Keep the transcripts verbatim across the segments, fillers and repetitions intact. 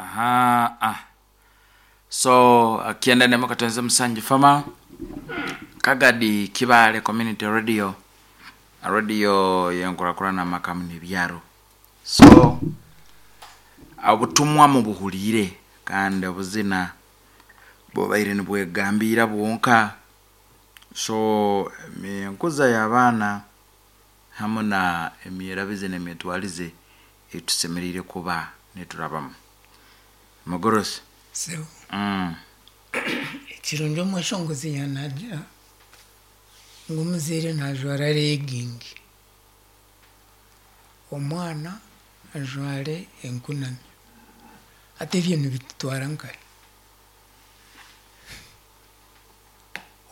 Aha, ah. So akienda nemo katenze musanji fama Kagadi Kibale Community Radio, radio yenkurakurana makamu nebyaro. So obutumwa mubuhurire kandi obuzina bubaire nibwegambira bwonka. So enkuza y'abaana hamwe na emyerabize n'emitwarize etusemereire kuba niturabamu. Mugorosi. Sebo. Mm. Ekirungi omweshongozi yanagira ngu omuzaire najwara legging, omwana ajware enkunami. Hati ebyo nibitutwara nkahi?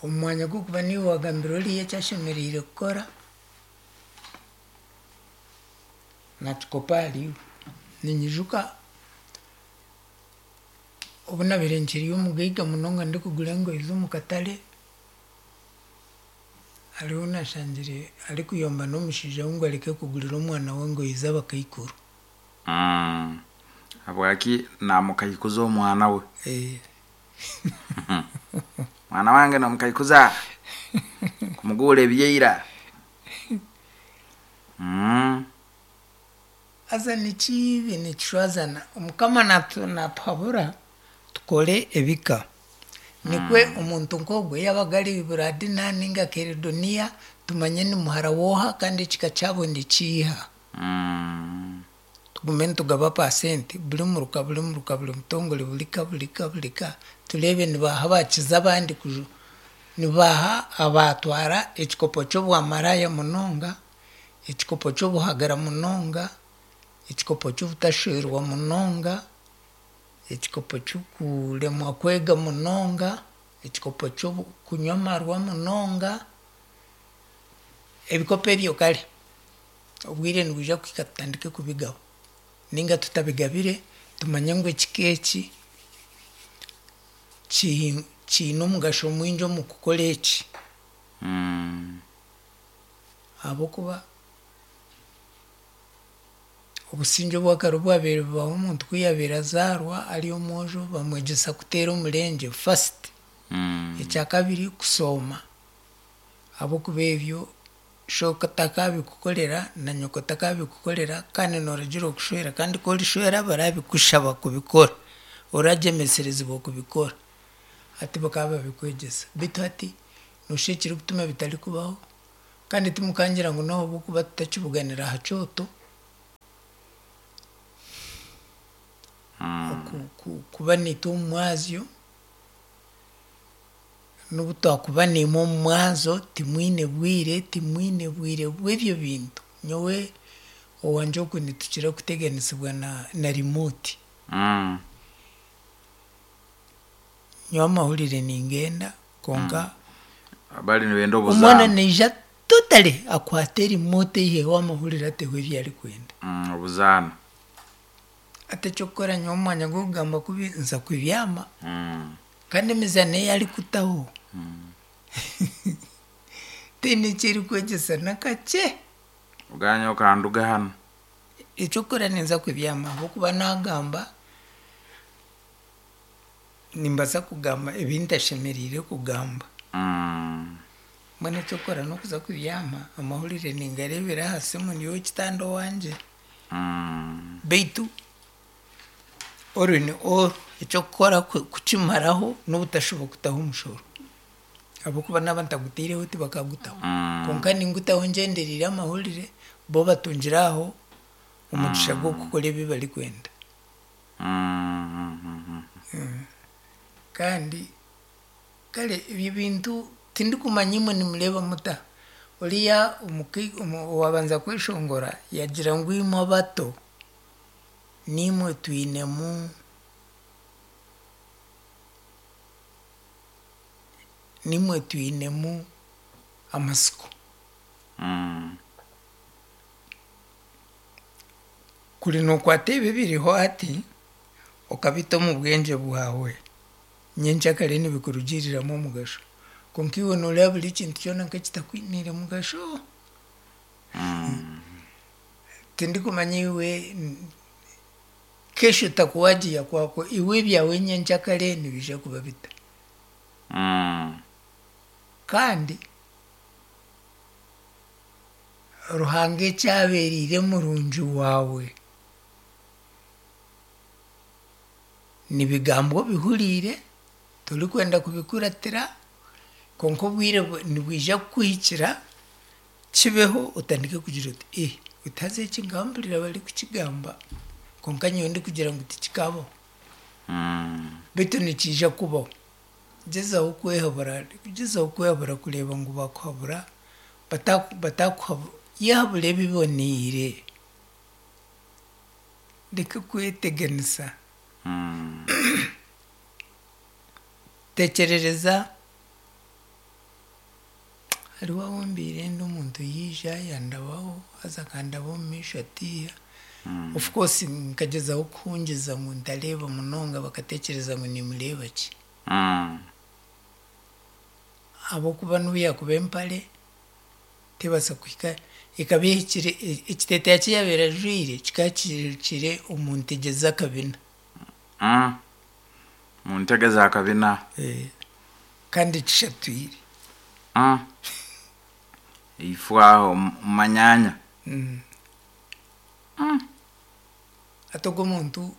Omu mwanya gw'okuba niiwe wagambira oriya eki ashemereire kukora, nakikopa ahariiwe. Ninyijuka obu nabiire nkiri omugaiga munonga ndikugura engoyi z'omu katare, hariho nashangire arikuyomba n'omushaija we ngu areke kugurira omwana we engoyi z'abakaikuru. Mm. Habwaki namukaikuza omwana we? Eh, Mwana wange namukaikuza kumugura ebyeira. Mm. Haza nikibi nikishwazana. Omukama natu- natuhabura tukore ebika. Nikwe omuntu nk'ogwe yabaga ari Buradina ninga Keredoniya tumanye ni muhara wooha kandi ekika kyabo nikiiha. Mm. Tugume nitugaba pasenti buri muruka buri muruka buri mutongore buri ka buri ka buri ka tureebe nibaha bakiza abandi kuju nibaha abatwara ekikopo ky'obwamaraya munonga, ekikopo ky'obuhagara munonga, ekikopo ky'obutashwerwa munonga, ekikopo ky'okuremwa kwega munonga, ekikopo ky'okunywa amarwa munonga, ebikopo ebyo kare obwire nibwija kuhika tutandike kubigaba ninga tutabigabire tumanye ngu ekika eki ki- kiine omugasho mwingi omu kukora eki. Mm. Ahabw'okuba obusingye obwakare obwabaire bubaho omuntu ku yabaire azaarwa ari omwojo bamwegyesa kuteera omurengye first. Mm. Ekyakabiri kusooma ahabw'okuba ebyo shooka atakabikukorera na nyoko atakabikukorera kandi nooragira okushwera kandi ku orishwera barabikushaba kubikora, oragyemeserezibwa kubikora. Hati bakaba babikwegyesa beitu hati noshusha ekirikutuma bitarikubaho kandi timukangira ngu n'ahabw'okuba tutakibuganira aha kyoto, Mm. ku- ku- kuba niitwe omu mwazyo, n'obu twakuba niimwe omu mwazo timwine bwire, timwine bwire bw'ebyo bintu. Nyowe owangye oku nitukira kuteganisibwa na, na remote. Mm. Nyowe amahurire ningenda konka Bali nibenda omwana obuzaano. naija totally akwate remote eiheho amahurire ateho ebi arikwenda. Mm, obuzaano. Hati eky'okukora nyowe omu mwanya gw'okugamba kubi nza kubyama Mm. kandi emizaano ei arikutaho Mm. tihaine eki erikwegyesa n'akakye. Oganya okanduga hanu. Eky'okukora ninza kubyama ahabw'okuba naagamba nimbaasa kugamba ebi ntashemereire kugamba. Mm. Mbwenu eky'okukora n'okuza kubyama amahurire ningareebera aha simu ndi ow'ekitanda owangye. Mm. Beitu all in all eky'okukora ku- kukimaraho n'obutashuba kutaho omushoro ahabw'okuba naaba ntagutaireho tibakagutaho. Mm. Konka ningutaho ngyendereire amahurire bo batungire aho omugisha gw'okukora ebi barikwenda. Mm. Mm. Mm. Kandi kare ebyo bintu tindikumanya imwe nimureeba muta. Oriya omuki- omu- owabanza kweshongora yagira ngu imwe abato nimwe twinemu nimwe twinemu amasiko. Mm. Kuri nookwata ebi ebiriho hati okabita omu bwengye bwawe nyenkyakare nibikurugiriramu omugasho. Konka iwe nooreeba buri kintu kyona nk'ekitakwiniire mugasho. Mm. Tindikumanya iwe n- Kesho itakuwaje ya kwako? Iwe ebyawe nyenkyakare nibiija kuba bita? Mm. Kandi Ruhanga ekyabereire murungi waawe nibigambwa obihuriire, torikwenda kubikuratira, kwonka obwire bu- nibwija kukuhikira kibeho otandike kugira oti eh oti haza eki nkampurira barikukigamba kwonka nyowe ndikugira ngu tikikabaho. Mm. Beitu nikiija kubaho. Gyezaho kwehabura, gyezaho kwehabura kureeba ngu bakuhabura, bataku batakuhabu yehabura ebiboniire. Reka kweteganisa. Mm. Tekyerereza hariho ahu mbiire ndi omuntu yaija yandabaho haza akandaba omu maisho atiiha. Mm. Of course nkagyezaho kuhungiza ngu ntareeba munonga bakatekyereza ngu nimureeba ki. Mm. Ahabw'okuba n'obu yaakuba empare tebaasa kuhika ekaba ehikire e- ekiteeteeyi ki yaabaire ajwaire kikaba kihikire omu ntegye z'akabina. Mm. Mu ntege za kabina. Eh, kandi kishatwire. Mm. Ifu aho mu manyanya. Mm. Mm. Hati ogwo omuntu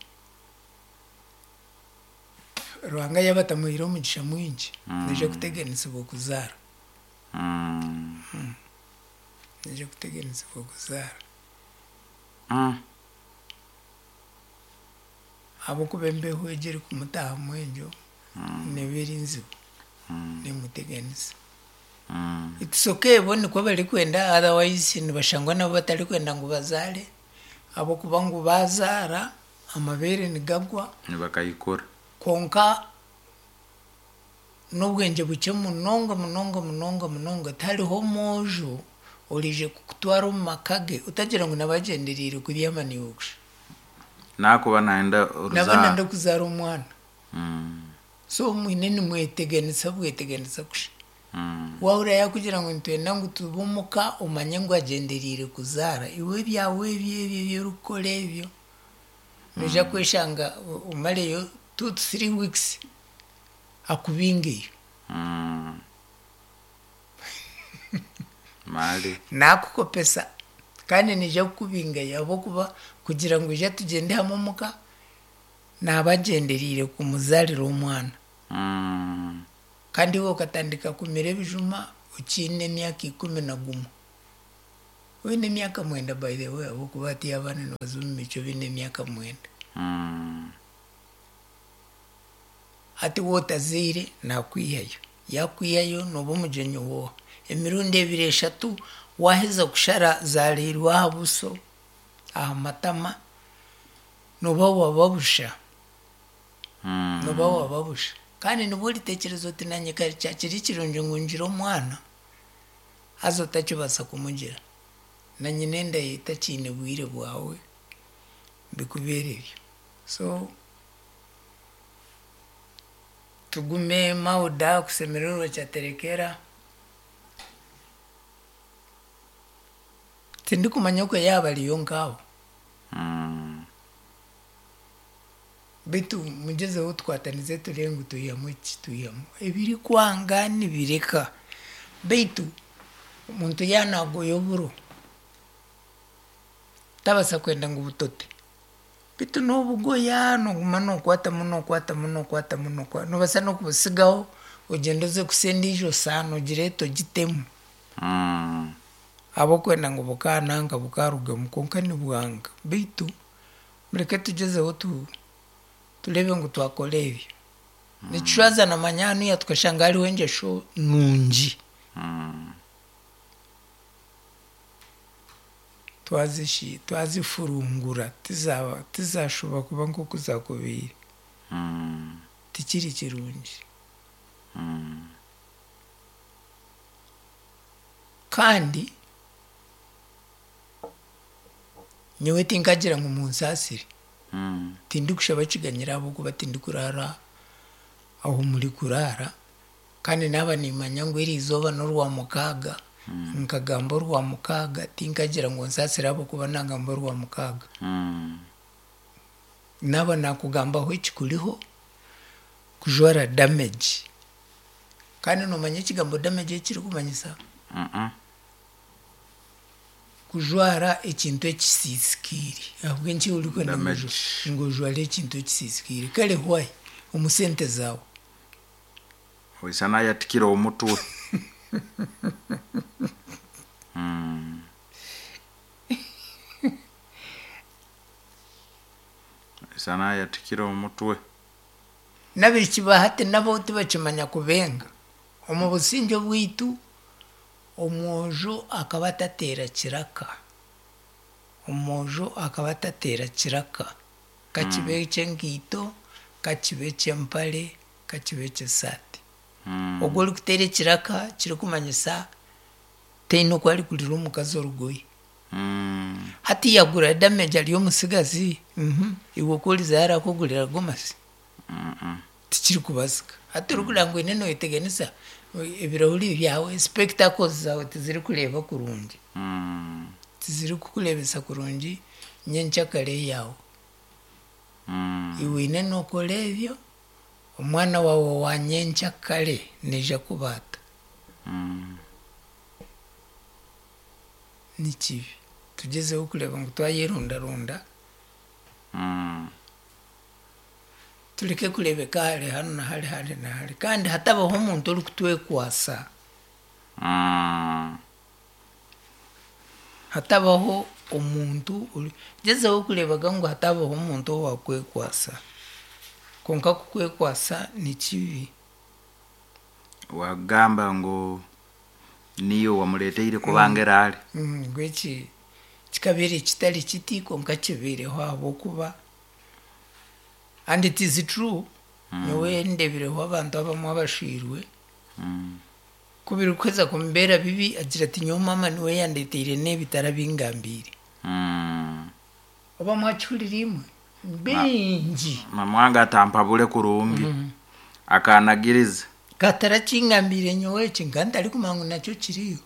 Ruhanga yaaba atamuhaire omugisha mwingi, Mm. naija kuteganisibwa okuzaara. Mm. Naija kuteganisibwa okuzaara. Mm. Ahabw'okuba embeho egyo erikumutaahamu egyo Mm. neeba eri nzibu, Mm. neemuteganisa. Mm. It's okay bo nikwo barikwenda otherwise nibashangwa nabo batarikwenda ngu bazaare ahabw'okuba ngu baazaara amabeere nigagwa Nibakayikura. kwonka n'obwengye bukye munonga munonga munonga munonga tihariho omwojo oriije kukutwara omu maka ge otagira ngu nabagyendereire kubyama naiwe kusha. Nakuba nayenda Naba oruzaaro. nanda kuzaara omwana. Mm. So mwine nimweteganisa bweteganisa kusha. Mm. Waahurira yaakugira ngu nitwenda ngu tube omuka omanye ngu agyendereire kuzaara. Iwe ebyawe ebyo ebyo ebi orikukora ebyo, noija kweshanga o- omareyo two to three weeks akubingeyo. Mm. Mali. Naakukopesa kandi naija kukubingayo ahabw'okuba kugira ngu ija tugyende hamwe omuka, naaba agyendereire kumuzaarira omwana. Mm. Kandi iwe okatandika kumira ebijuma okiine emyaka ikumi na gumwe. Oine emyaka mwenda by the way ahabw'okuba hatiiya abaana nibaza omu micwe baine emyaka mwenda. Mm. Hati wootazaire naakwihayo. Yaakwihayo nooba omugyenyi wooha. Emirundi ebiri eshatu waaheza kushara zaariirwe aha buso, aha matama, nooba waaba busha. Mm. Nooba waaba busha. Kandi nibwo oritekyereza oti naanye kare kyakiri kirungi ngu ngire omwana, haza otakibaasa kumugira. Na nyina enda ye takiine bwire bwawe, bikubeere ebyo. So tugume mauda kusemererwa kyaterekera. Tindikumanya okwe yaaba ariyo nk'aho. Mm. Beitu mugyezeho tukwatanize turebe ngu twihamu eki twihamu. Ebirikwanga nibireka. Beitu omuntu yaanagoya oburo, tabaasa kwenda ngu butote. Beitu noobugoya nooguma nookwatamu nookwatamu nookwatamu nookwa noobaasa n'okubusigaho ogyende oze kusa endiijo saano ogireete ogitemu. Mm. Ahabw'okwenda ngu bukaananka bukarugamu kwonka nibwanga. Beitu mureke tugyezeho tu tureebe ngu twakora ebyo. Nikishwaza namanya hanuya tukashanga hariho engyesho nungi. Mm. Twazishi twazifurungura tizaaba tizaashuba kuba nk'oku zaakubaire. Mm. Tikiri kirungi. Mm. Kandi nyowe tinkagira ngu munsaasire. Mm. Tindikushaba kiganyiro ahabw'okuba tindikuraara ahu murikuraara kandi naaba nimanya ngu eriizooba n'orwa mukaaga, nkagamba orwa mukaaga tinkagira ngu nsaasire ahabw'okuba naagamba orwa mukaaga. Mm. Naaba naakugambaho ekikuriho kujwara damage. Kandi noomanya ekigambo damage ekirikumanyisa? Mm-mm. Kujwara ekintu ekisiisikaire. Ahabw'enki orikwenda ngu Damage. oju- ngu ojware ekintu ekisiisikaire? Kare why? Omu sente zaawe. Oisana yatikira omutwe. Mm. Oisana yatikira omutwe. N'abaishiki ba hati nabo tibakimanya kubenga. Omu busingye obwaitu, omwojo akaba atateera kiraka. Omwojo akaba atateera kiraka. Kakibe eky'enkaito, kakibe eky'empare, kakibe eky'esaati. Mm. Ogwo orikuteera ekiraka kirikumanyisa taine oku arikugurira omukazi orugoye. Mm. Hati yagura damage ari omutsigazi, mhm, iwe ku orizayo arakugurira gomasi? Mm-mm. Tikirikubaasika. Hati orikureeba ngu oine nooyeteganisa, ebirahuri byawe, spectacles zaawe tizirikureeba kurungi. Mm. Tizirikukureebesa kurungi nyenkyakare yaawe. Mm. Iwe oine nookora ebyo, omwana waawe wa nyenkyakare naija kubaata. Mm. Ni kibi. Tugyezeho kureeba ngu twayerundarunda, Mm. tureke kureebeka hare hanu na hare hare na hare. Kandi hatabaho omuntu orikutwekwasa. Mm. Hatabaho omuntu ori gyezeho kureebaga ngu hatabaho omuntu owakwekwasa. Kwonka kukwekwasa ni kibi. Wagamba ngu niyo wamuleteire kubanga erali. Mm, ngu eki kikabeire kitari kiti kwonka kibaireho ahabw'okuba and it is true. Nyowe ndeebireho abantu abamwe abashwirwe, Mm. ku birikuheza kumubeera bibi agira ati nyowe maama niwe yandeteire n'ebi tarabingambiire. Mm. Oba mwakihurira imwe? Bingi. Mama wange atampabule kurungi. Akanagiriza. Katarakingambiire nyowe eki nka ntarikumanya ngu nakyo kiriyo.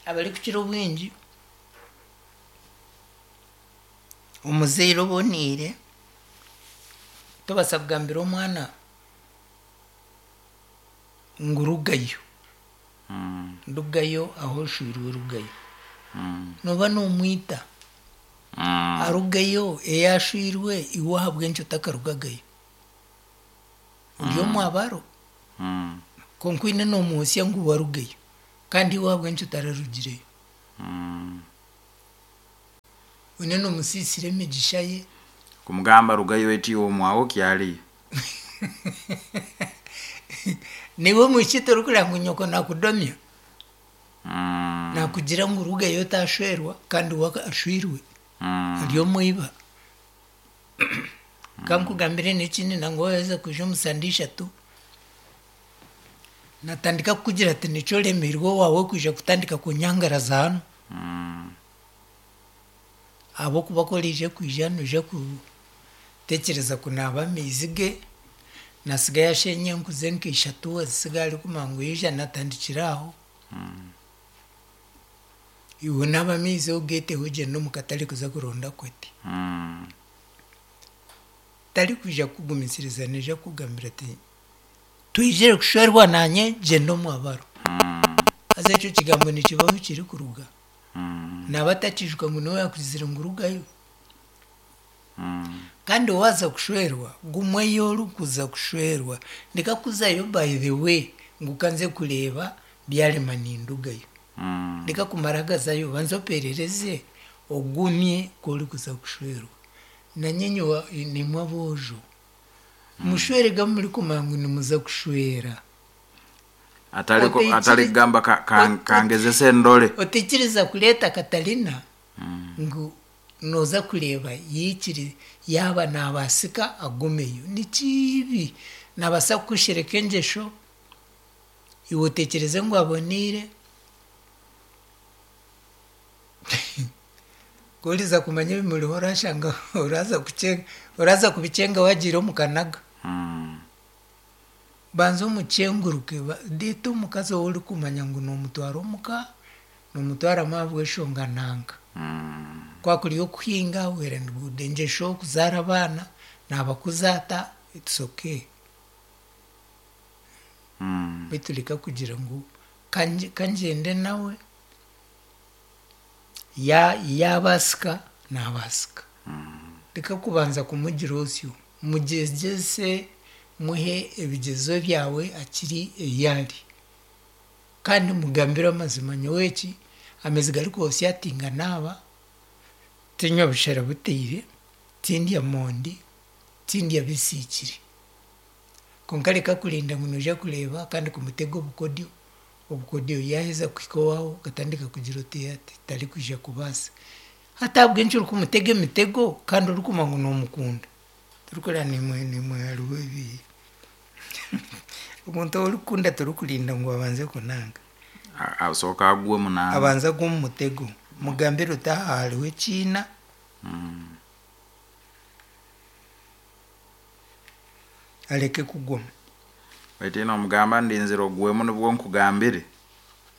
Abarikukira obwingi, omuzaire oboneire, tobaasa kugambira omwana ngu rugayo. Mm. Rugayo aho oshwirwe rugayo. Mm. Nooba noomwita. Mm. Arugayo ei ashwirwe iwe ahabw'enki otakarugagayo? Ori omwabaro. Mm. Kwonka oine noomwotsya ngu warugayo. Kandi iwe ahabw'enki otararugireyo? Mm. Oine noomusiisira emigisha ye. Kumugamba rugayo eti omwawo kyaliyo. Niiwe omwishiki torikureeba ngu nyoko nakudomya? Mm. Nakugira ngu rugayo otashwerwa kandi we ashwirwe. Mm. Ari omwiba. Kankugambire n'ekindi nangwa waaheza kwija omu sande ishatu, natandika kukugira ati nikyo oremeirwe owaawe kwija kutandika kunyangaraza hanu. Mm. Ahabw'okuba ku oraije kwija noija kutekyereza kunaaba amaizi ge, nasiga yasheenya enku ze nka ishatu azisiga arikumanya ngu yaija natandikira aho. Iwe onaaba amaizi ogeeteho ogyende omu katare kuza kuronda kwete. Mm. Tarikwija kukugumisiriza naija kukugambira ati twizire kushwerwa naanye gyenda omwabaro. Haza ekyo kigambo nikibaho kirikuruga. Mm. Naaba atakiijuka ngu niwe yaakugizire ngu rugayo. Mm. Kandi waaza kushwerwa, gumweyo orikuza kushwerwa. Ndeka kuzayo by the way ngu kanze kureeba byarema nindugayo. Mm. Ndeka kumara gazayo banza operereze ogumye ku orikuza kushwerwa. Nanye nyowe nimwe aboojo. Mushwerega murikumanya ngu nimuza kushwera. Atali ku- Oteikiri- atali kugamba ka, ka, Ot- kangezese endole. Otaikiriza kureeta Katarina ngu nooza kureeba yaikiri yaaba naabaasika agumeyo. Ni kibi. Naabaasa kukushereka engyesho, iwe otekyereze ngu aboneire. Ku oriza kumanya ebimuriho orashanga oraza kukyenga oraza kubikyenga wagiire omu kanaga. Mm. Banza omukyenguruke, reeta omukazi ou orikumanya ngu noomutwara omuka, noomutwaramu ahabw'enshonga nanka. Mm. Kwakuri okuhinga well and good, engyesho kuzaara abaana naabakuza ata it's okay. Mm. Beitu reka kugira ngu kangyende nawe yaabaasika naabaasika. Reka kubanza kumugira osyo, mugyegyese muhe ebigyezo byawe akiri ei ari. Kandi mugambire amazima nyowe eki amaizi garikwosya tinganaaba, tinywa bushera buteire, tindya mondi, tindya bisiikire. Kwonka reka kurinda ngu noija kureeba kandi kumutega obukodyo, obukodyo yaaheza kuhika owaawe okatandika kugira oti ati tarikwija kubaasa. Hati ahabw'enki orikumutega emitego kandi orikumanya ngu noomukunda? Torikureeba nimwe nimwe hariho ebi omuntu ou orikukunda torikurinda ngu abanze kunanga. Asooka agwe munanga. Abanze agwe omu mutego. Mugambire oti aha hariho ekiina. Mm. Areke kugoma. Beitu nomugamba ndinzire ogwemu nibwo nkugambire.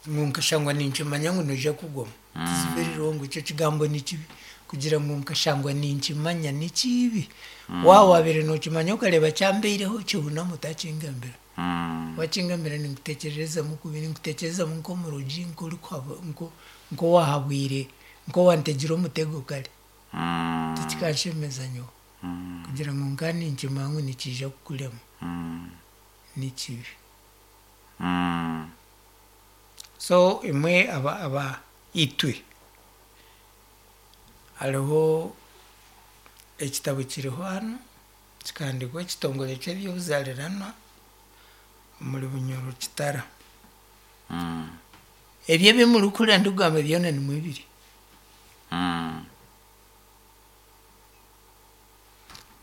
Ngu nkashangwa ninkimanya ngu noija kugoma. Mm. It's very wrong, ekyo kigambo ni kibi. Kugira ngu nkashangwa ninkimanya ni kibi. Mm. Waaba waabaire nookimanya okareeba kyambaireho kihuname otakingambira. Mm. Wakingambira ninkuteekyerezamu kubi, ninkuteekyerezamu nk'omurogi, nk'owaahabwire, nk'owantegire omutego kare. Mm. Tikikanshemeza nyowe. Mm. Kugira ngu nka ninkimanya ngu nikiija kukurema. Mm. Ni kibi. Mm. So imwe aba aba itwe hariho ekitabo kiriho hanu kikahandiikwa ekitongore ky'eby'obuzaariranwa omuri Bunyoro Kitara. Mm. Ebyo ebi murikuhurira ndikugamba byona nimwo biri. Mm.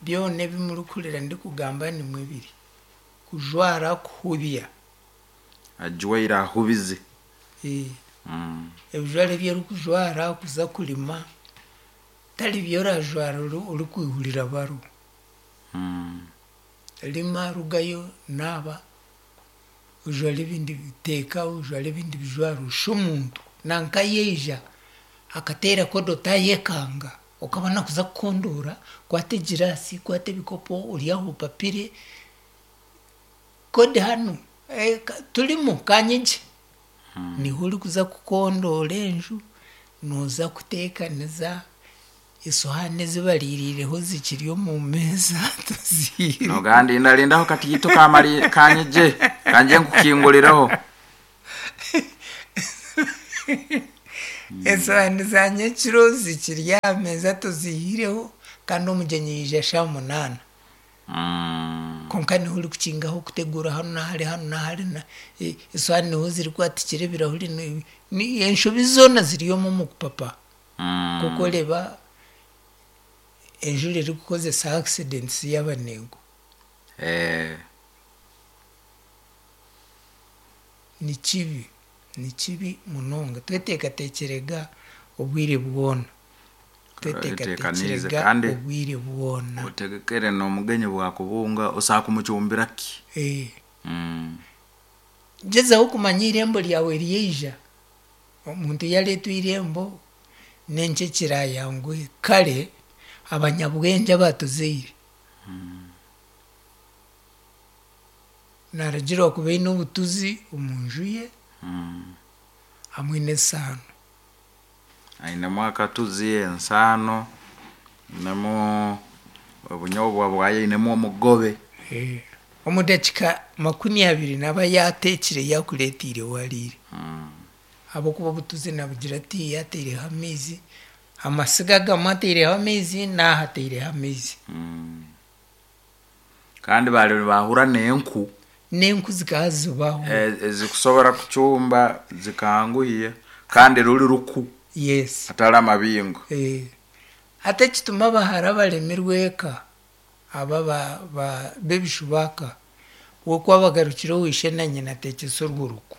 Byona ebi murikuhurira ndikugamba nimwo biri. Kujwara kuhubya. Ajwaire ahubize. Eh. Mm. Ebijwaro ebi orikujwara kuza kurima tari byo orajwara orikwihurira baro. Mm. Rima rugayo naaba ojware ebindi teeka ojware ebindi bijwaro oshushe omuntu nanka yaija akateera kodo tayekanga okabona kuza kukondoora kwata egiraasi kwata ebikopo ori aho opapire kodi hanu eh, turimu kanyigye. Mm. Niho orikuza kukondoora enju nooza kuteekaniza esohaani ezi bariirireho zikiri omu meeza tuziire. Nogamba ndarindaho katiito kamari kanyije kanje nkukingurireho. Esohaani za nyekiro zikiri aha meeza tuziihireho kandi omugyenyi yaija shaaha munaana. Mm. Kwonka niho orikukingaho kuteguura hanu nahari hanu nahari esohaani niho zirikwatikira ebirahuri enshobi zoona ziri omu omu kupapa. Mm. Nk'oku oreeba enjura erikukozesa accidents y'abanengo. Eh. Ni kibi, ni kibi munonga. Tweteekateekyerega obwire bwona. Tweteekanize Tweteekateekyerega kandi obwire bwona. otegekere n'omugenyi bwakubunga osaaka kumucumbira ki. Eh. Mm. Gyezaho kumanya eirembo ryawe ryaija. Omuntu yareetwa eirembo n'enki ekirayanguhe. Kare abanyabwengye abatuzaire Mm. naaragirwa kuba aine obutuzi omu nju ye Mm. hamwe n'esaano. Ainemu akatuzi, ensaano, ainemu obunyobwa bwayo, ainemu omugobe. Eh. Omu dakiika makumi abiri naaba yaateekire yaakureetiire wariire. Mm. Ahabw'okuba obutuzi nabugira ati yaataireho amaizi, amasiga agamwe ataireho amaizi n'aha ataireho amaizi. Mm. Kandi bari nibahura n'enku N'enku zikaba zibaho. ezikusobora kucumba zikanguhiya kandi ruri ruku Yes. atari amabingo. Eh. Hati ekituma abahara baremirwe eka aba ba, ba, b'ebishubaka wokuba bagarukire owishe na nyina ateekyese orwo ruku.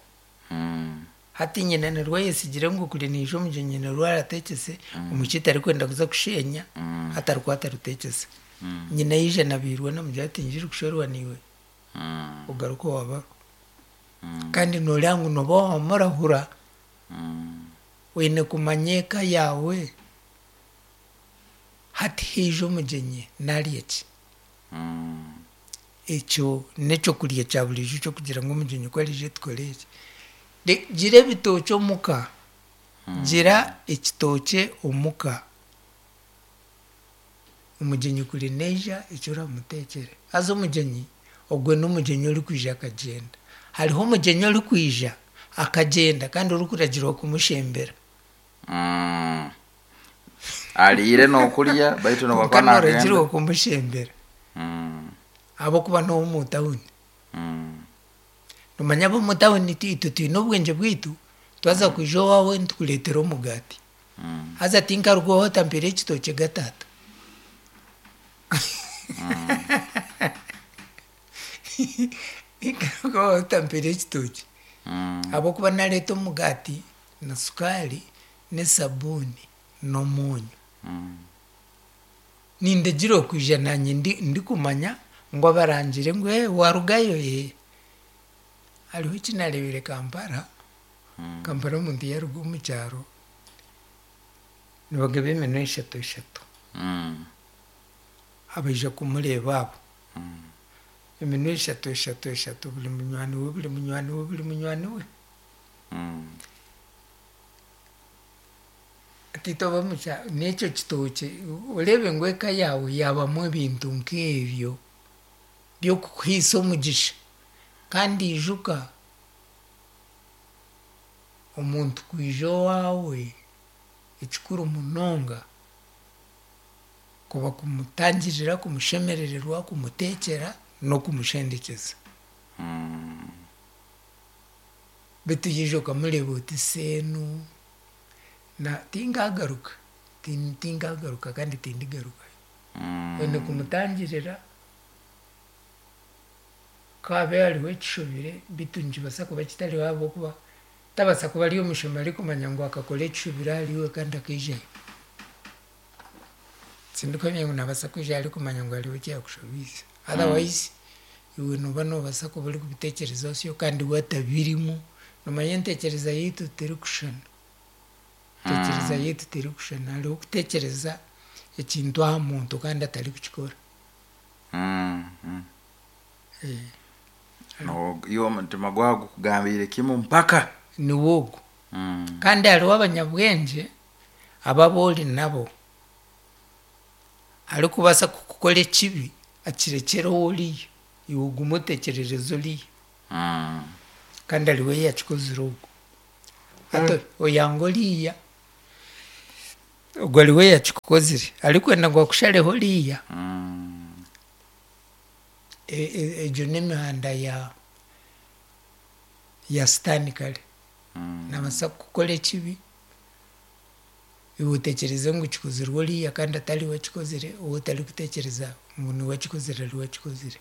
Mm. Hati nyina nirwo ayesigire ngu kuri niija omugyenyi nirwo arateekyese omwishiki tarikwenda kuza kushenya Mm. hati arikwata aruteekyese. Mm. Nyina yaija nabiirwe namugira ati njiri kushwerwa niiwe Mm. ogaruke owabaro. Mm. Kandi nooreeba ngu nooba wamurahura Mm. oine kumanya eka yaawe Hati haija omugyenyi narya ki? Ekyo n'ekyokurya kya buriijo ekyokugira ngu omugyenyi ku ariija tukore eki. Gira ebitookye omuka, gira ekitookye omuka. Omugyenyi kuri naija eki oramuteekyere. Haza omugyenyi ogwe n'omugyenyi orikwija akagyenda. Hariho omugyenyi orikwija akagyenda kandi orikuragirwa kumushembera. Ariire n'okurya baitu Kwonka nobakuba nagenda. nooragirwa kumushembera ahabw'okuba n'ow'omu tawuni. Nomanya ab'omu tawuni itwe twine obwengye bwaitu, twaza kwija owaawe nitukureetera omugaati. Haza tinkaruga owaawe otampiire ekitookye ga taata. Tinkaruga owaawe otampiire ekitookye. Ahabw'okuba nareeta omugaati na sukaari n'esabuuni n'omwonyo. Nindagira okwija naanye ndikumanya ngu abarangire ngu ee warugayo ee. Hariho eki nareebire Kampala, Kampala omuntu yaaruga omu kyaro nibagaba eminwa eshatu eshatu. Abaija kumureeba abo. Eminwa eshatu eshatu eshatu buri munywani we buri munywani we buri munywani we. Hati itwe ab'omu kyaro n'ekyo kitookye oreebe ngu eka yaawe yaabamu ebintu nk'ebyo by'okukuhaisa omugisha. Kandi ijuka omuntu kwija owaawe ekikuru munonga kuba kumutangirira, kumushemerererwa, kumuteekyera n'okumushendekyeza. Beitu yaija okamureeba oti seenu na tinkagaruka, tinkagaruka kandi tindigarukayo. Oine kumutangirira ku haabe hariho ekishobire beitu nikibaasa kuba kitariho ahabw'okuba tabaasa kuba ari omushema arikumanya ngu akakora ekishobire ahariiwe kandi akaijayo. Tindikuhamya ngu nabaasa kwija arikumanya ngu hariho eki yaakushobiize. Otherwise iwe nooba noobaasa kuba orikubiteekyereza osyo kandi we atabirimu. Nomanya enteekyereza yaitu terikushushana. Enteekyereza yaitu terikushushana. Hariho okuteekyereza ekintu aha muntu kandi atarikukikora. Iwe omutima gwawe gukugambiire kimwe mpaka. Niwe ogwo. Kandi hariho abanyabwengye abo ori nabo arikubaasa kukukora ekibi akirekyere oriya iwe ogume otekyerereze oriya. Kandi hariho eyakikozire ogwo. Hati oyanga oriya, ogwo hariho eyakikukozire arikwenda ngu akushareho oriya. Egyo n'emihanda ya ya sitaani kare. Nabaasa kukukora ekibi, iwe otekyereze ngu kikozirwe oriya kandi atariwe akikozire, ou otarikutekyereza ngu niwe akikozire ariwe akikozire.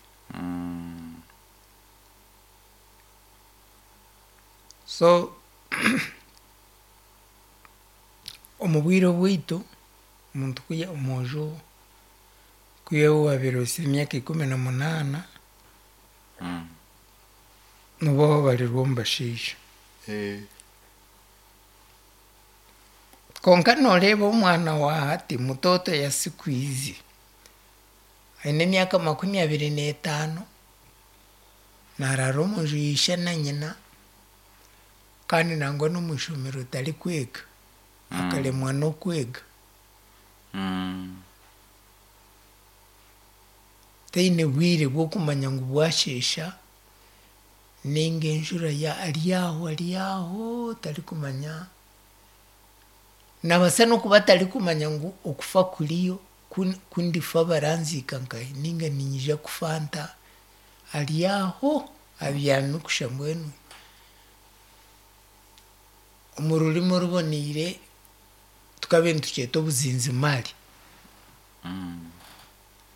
So omu bwire obwaitu, omuntu omwojo ku waabiire ohitsire emyaka ikumi na munaana, nooba waabarirwa omu bashaija. Kwonka nooreeba omwana wa hati mtoto ya siku hizi, aine emyaka makumi abiri n'etaano, naaraara omunju ya ishe na nyina, kandi nangwa n'omu ishomero tarikwega, akaremwa n'okwega. Taine bwire bw'okumanya ngu bwasheesha ninga enjura ari aho ari aho tarikumanya, nabaasa n'okuba atarikumanya ngu okufa kuriyo, ku ndifa baranziika nkahi ninga niinyija kufa nta, ari aho abyami kusha mbwenu omu rurimi oruboniire tukabiire nitukyeta obuzinzimaari.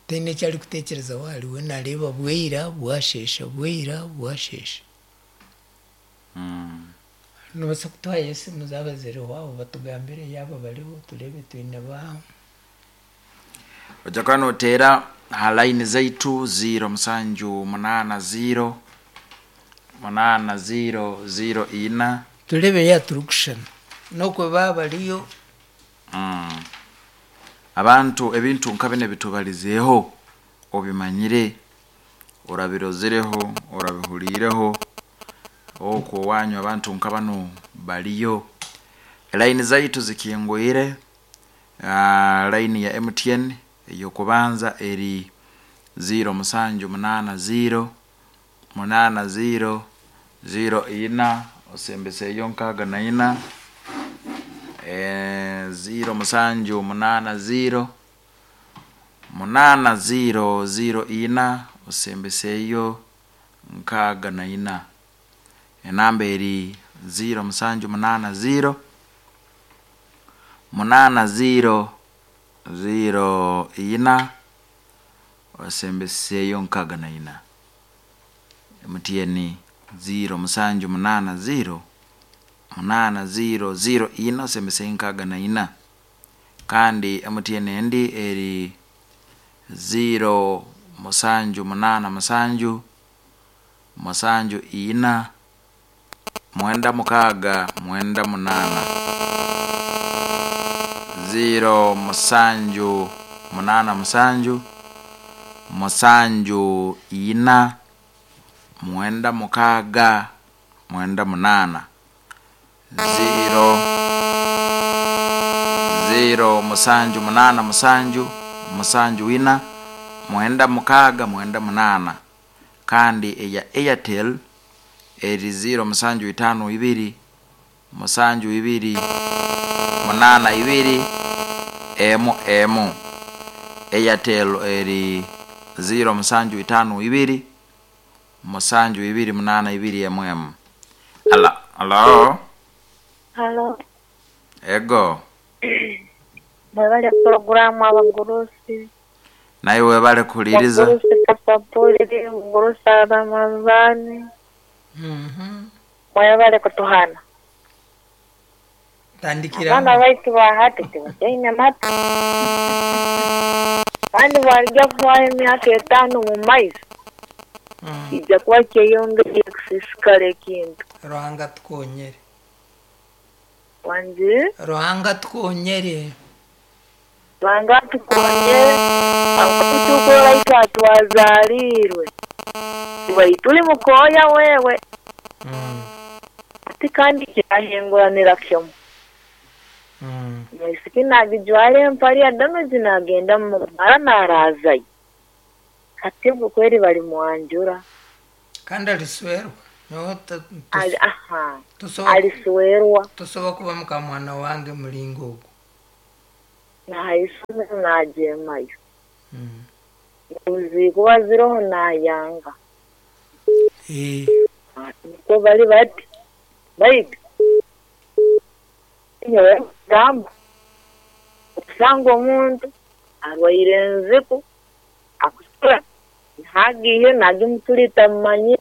Taine eki arikuteekyerezaho ahariwe naareeba bwaira bwasheesha bwaira bwasheesha. Noobaasa kutuhayo esimu zaaba ziriho aho batugambire yaaba bariho tureebe twine ba Ojja kuba nooteera aha layini zaitu ziro musanju munaana ziro munaana ziro ziro ina. Tureebe yaaba turikushushana n'okwe baaba bariyo. Abantu ebintu nka bine bitubalizeeho, obimanyire, orabirozereho, orabihuliireho, okwo wanyu abantu nka bano baliyo. Line zaitu zikingwire. Uh, line ya M T N eyokubanza eri zero musanju munana zero munana zero zero ina osembeseyo nkaga na ina, e, zero musanju munana zero munana zero zero ina osembeseyo nkaga na ina. Enamba eri zero musanju munana zero munana zero zero ina osembeseyo nkaga na ina. M T N zero musanju munana zero munana zero zero ina osembeseyo nkaga na ina. Kandi M T N endi eri zero musanju munana musanju musanju ina mwenda mukaga mwenda munana. Zero musanju munana musanju musanju ina mwenda mukaga mwenda munana. Zero zero musanju munana musanju musanju ina mwenda mukaga mwenda munana. Kandi eya Airtel eri zero musanju itano ibiri musanju ibiri munana ibiri emu emu. Airtel eri zero musanju itano ibiri musanju ibiri munana ibiri emu emu. Ala, alo. Halo. Ego. Mwebale programu abagurusi. Naye webale kuliriza. Bagurusi kasapuli, mugurusi Ramazani. Mhm. Mwebale kutuhana. Tandikira. Abana baitu bahati tibaine mata. Kandi barya kubaha emyaka etaano mu maiso. Mm. Ijja kuba kyeyongeye kusiisikara ekintu. Ruhanga tukonyere. Wangi? Ruhanga tukonyere. Ruhanga tukonyere. Akutukora itwe twazaalirwe. Tuli mukoya wewe. Mm. Ati kandi kyahinguranira kyomu. Mm. Mwisiki nagijwara empari ya damage nagenda mara narazayo. Ati kweri bali mwanjura. Kandi aliswerwa. No Ali aha. Tusoba Aliswerwa. Tusoba kuba muka mwana wange mulingo ogwo. Nahaisome najemayo. Mm. Uzi kuba ziroho nayanga. Eh. Niko bali bati. Baitu. Nyowe gamba. Usanga omuntu arwaire enziku akusura ntagiye nagimutulita mmanyi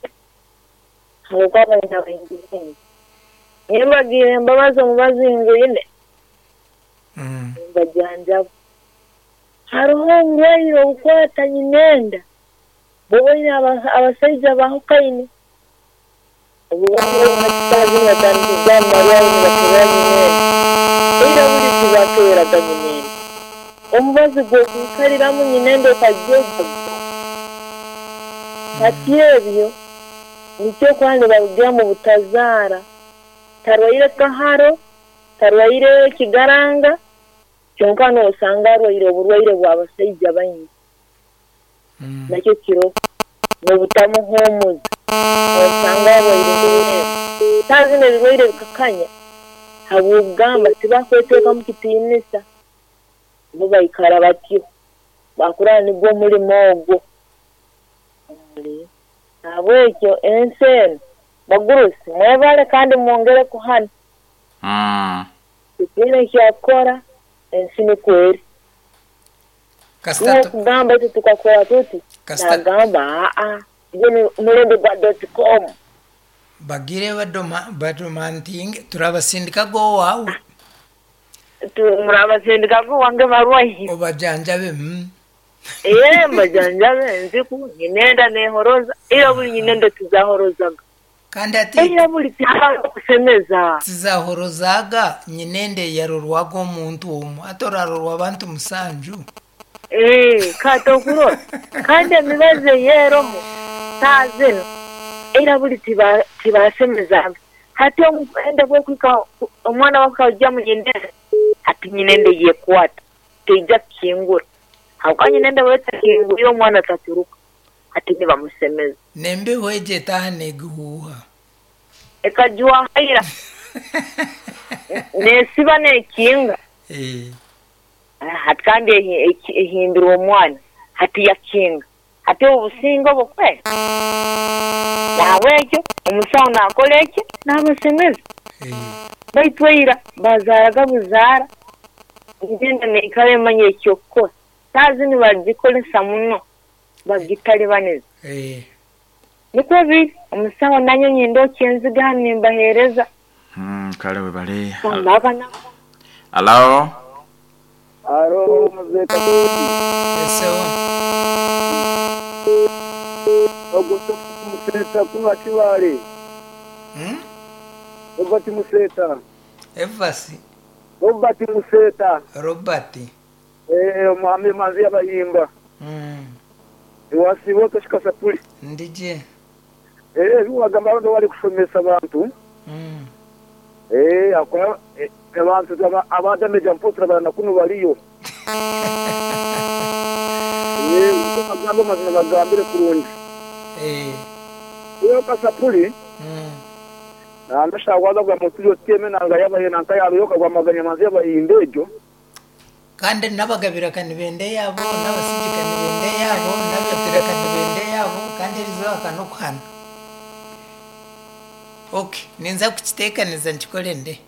nkuko abaina baingi baingi. Nimbagiire embabazi omubazinguine. Mm. Mbajanjaba. Hariho oburwaire obukwata nyinenda bubone abasaija bahukaine. Omubazi gw'okuikariramu nyinenda okagyoga. Kati ebyo nikyo kwandi barugira mu butazaara. Tarwaire kaharo, tarwaire kigaranga, kyonka noosanga arwaire oburwaire bw'abasaija baingi. Mm. Nakyo kiro n'obutamuhumuza. Osanga arwaire ebiremba. Tazina ebirwaire bikakanya habw'okugamba tibakweteekamu kitiinisa. Bo baikara batyo bakurana nigwo omurimo ogwo. Habwekyo ensi eno bagurusi mwebale kandi mwongere kuhana. Mm. Tukiine kyakukora ensi nikwo eri. Kasita Kugamba itwe tukakora tuti Kasita nagamba aa gwe mulembe gwa dot com. Bagire badoma badomantinge turabasindika go wawu. Murabasindika go wange barwayi. Obajanjabe mm. Eh mbajanjabe nziku nyinenda nehoroza iyo buli nyinenda tuzahorozaga. Kandi ati Era buli tihabaho okusemeza. Tizahorozaga nyinende yarorwaga omuntu omwe, ati orarorwa abantu musanju. Eh, kati okurora kandi emibazi eyeroho saazino era buli tiba- tibasemeza. Hati omukwenda bwokwika omwana wakajja munyinende, hati nyinende yekwata teija kukingura, habwokuba nyinende bwetakingwire omwana taturuka, hati nibamusemeza. Nembeho egyo etaaha negihuuha. Ekajwahaira nesiba nekinga. Eh. Hati kandi ehi- eki- ehimbirwe omwana, hati yakinga, hati obusinge obwo kwe nahabwekyo omusawo nakora eki nabasemeza. Eh. Baitu eira bazaaraga buzaara, ngenda neikara emanya ekyokukora. Saaha zinu bagikozesa muno, bagitalibaniza. Eh. Nikwo biri, omusawo nanye nyinda enziga hanu nimbaheereza. Mm, kale webale. Baba na Alo. Aro mzee Katoti. Esewo. Ogwo Museta kuba kibale. Hmm? Robert Museta. Evasi. Robert Museta. Robert. Eh, omwami manzi y'abayimba. Mm. Iwasibo toshika sapuli. Ndije. Eh, biwagamba abantu bali kusomesa abantu. Mm. Eh, akora eh, abantu aba- abadameja mpotra bana kuno baliyo. Eh, bagamba mazima bagambire kurungi. Eh. Iyo kasapuli Mm. nandashagwaza bwa mutuyo tieme nanga yabaye nanka yaruyoka gwa maganya manzi y'abayimba ejo. Kandi n'abagabira kanibende yabo, n'abasigi kanibende yabo, n'abatira kanibende yabo, kandi erizoba kanokuhana. Okay, ninza kukiteekaniza nkikore nde.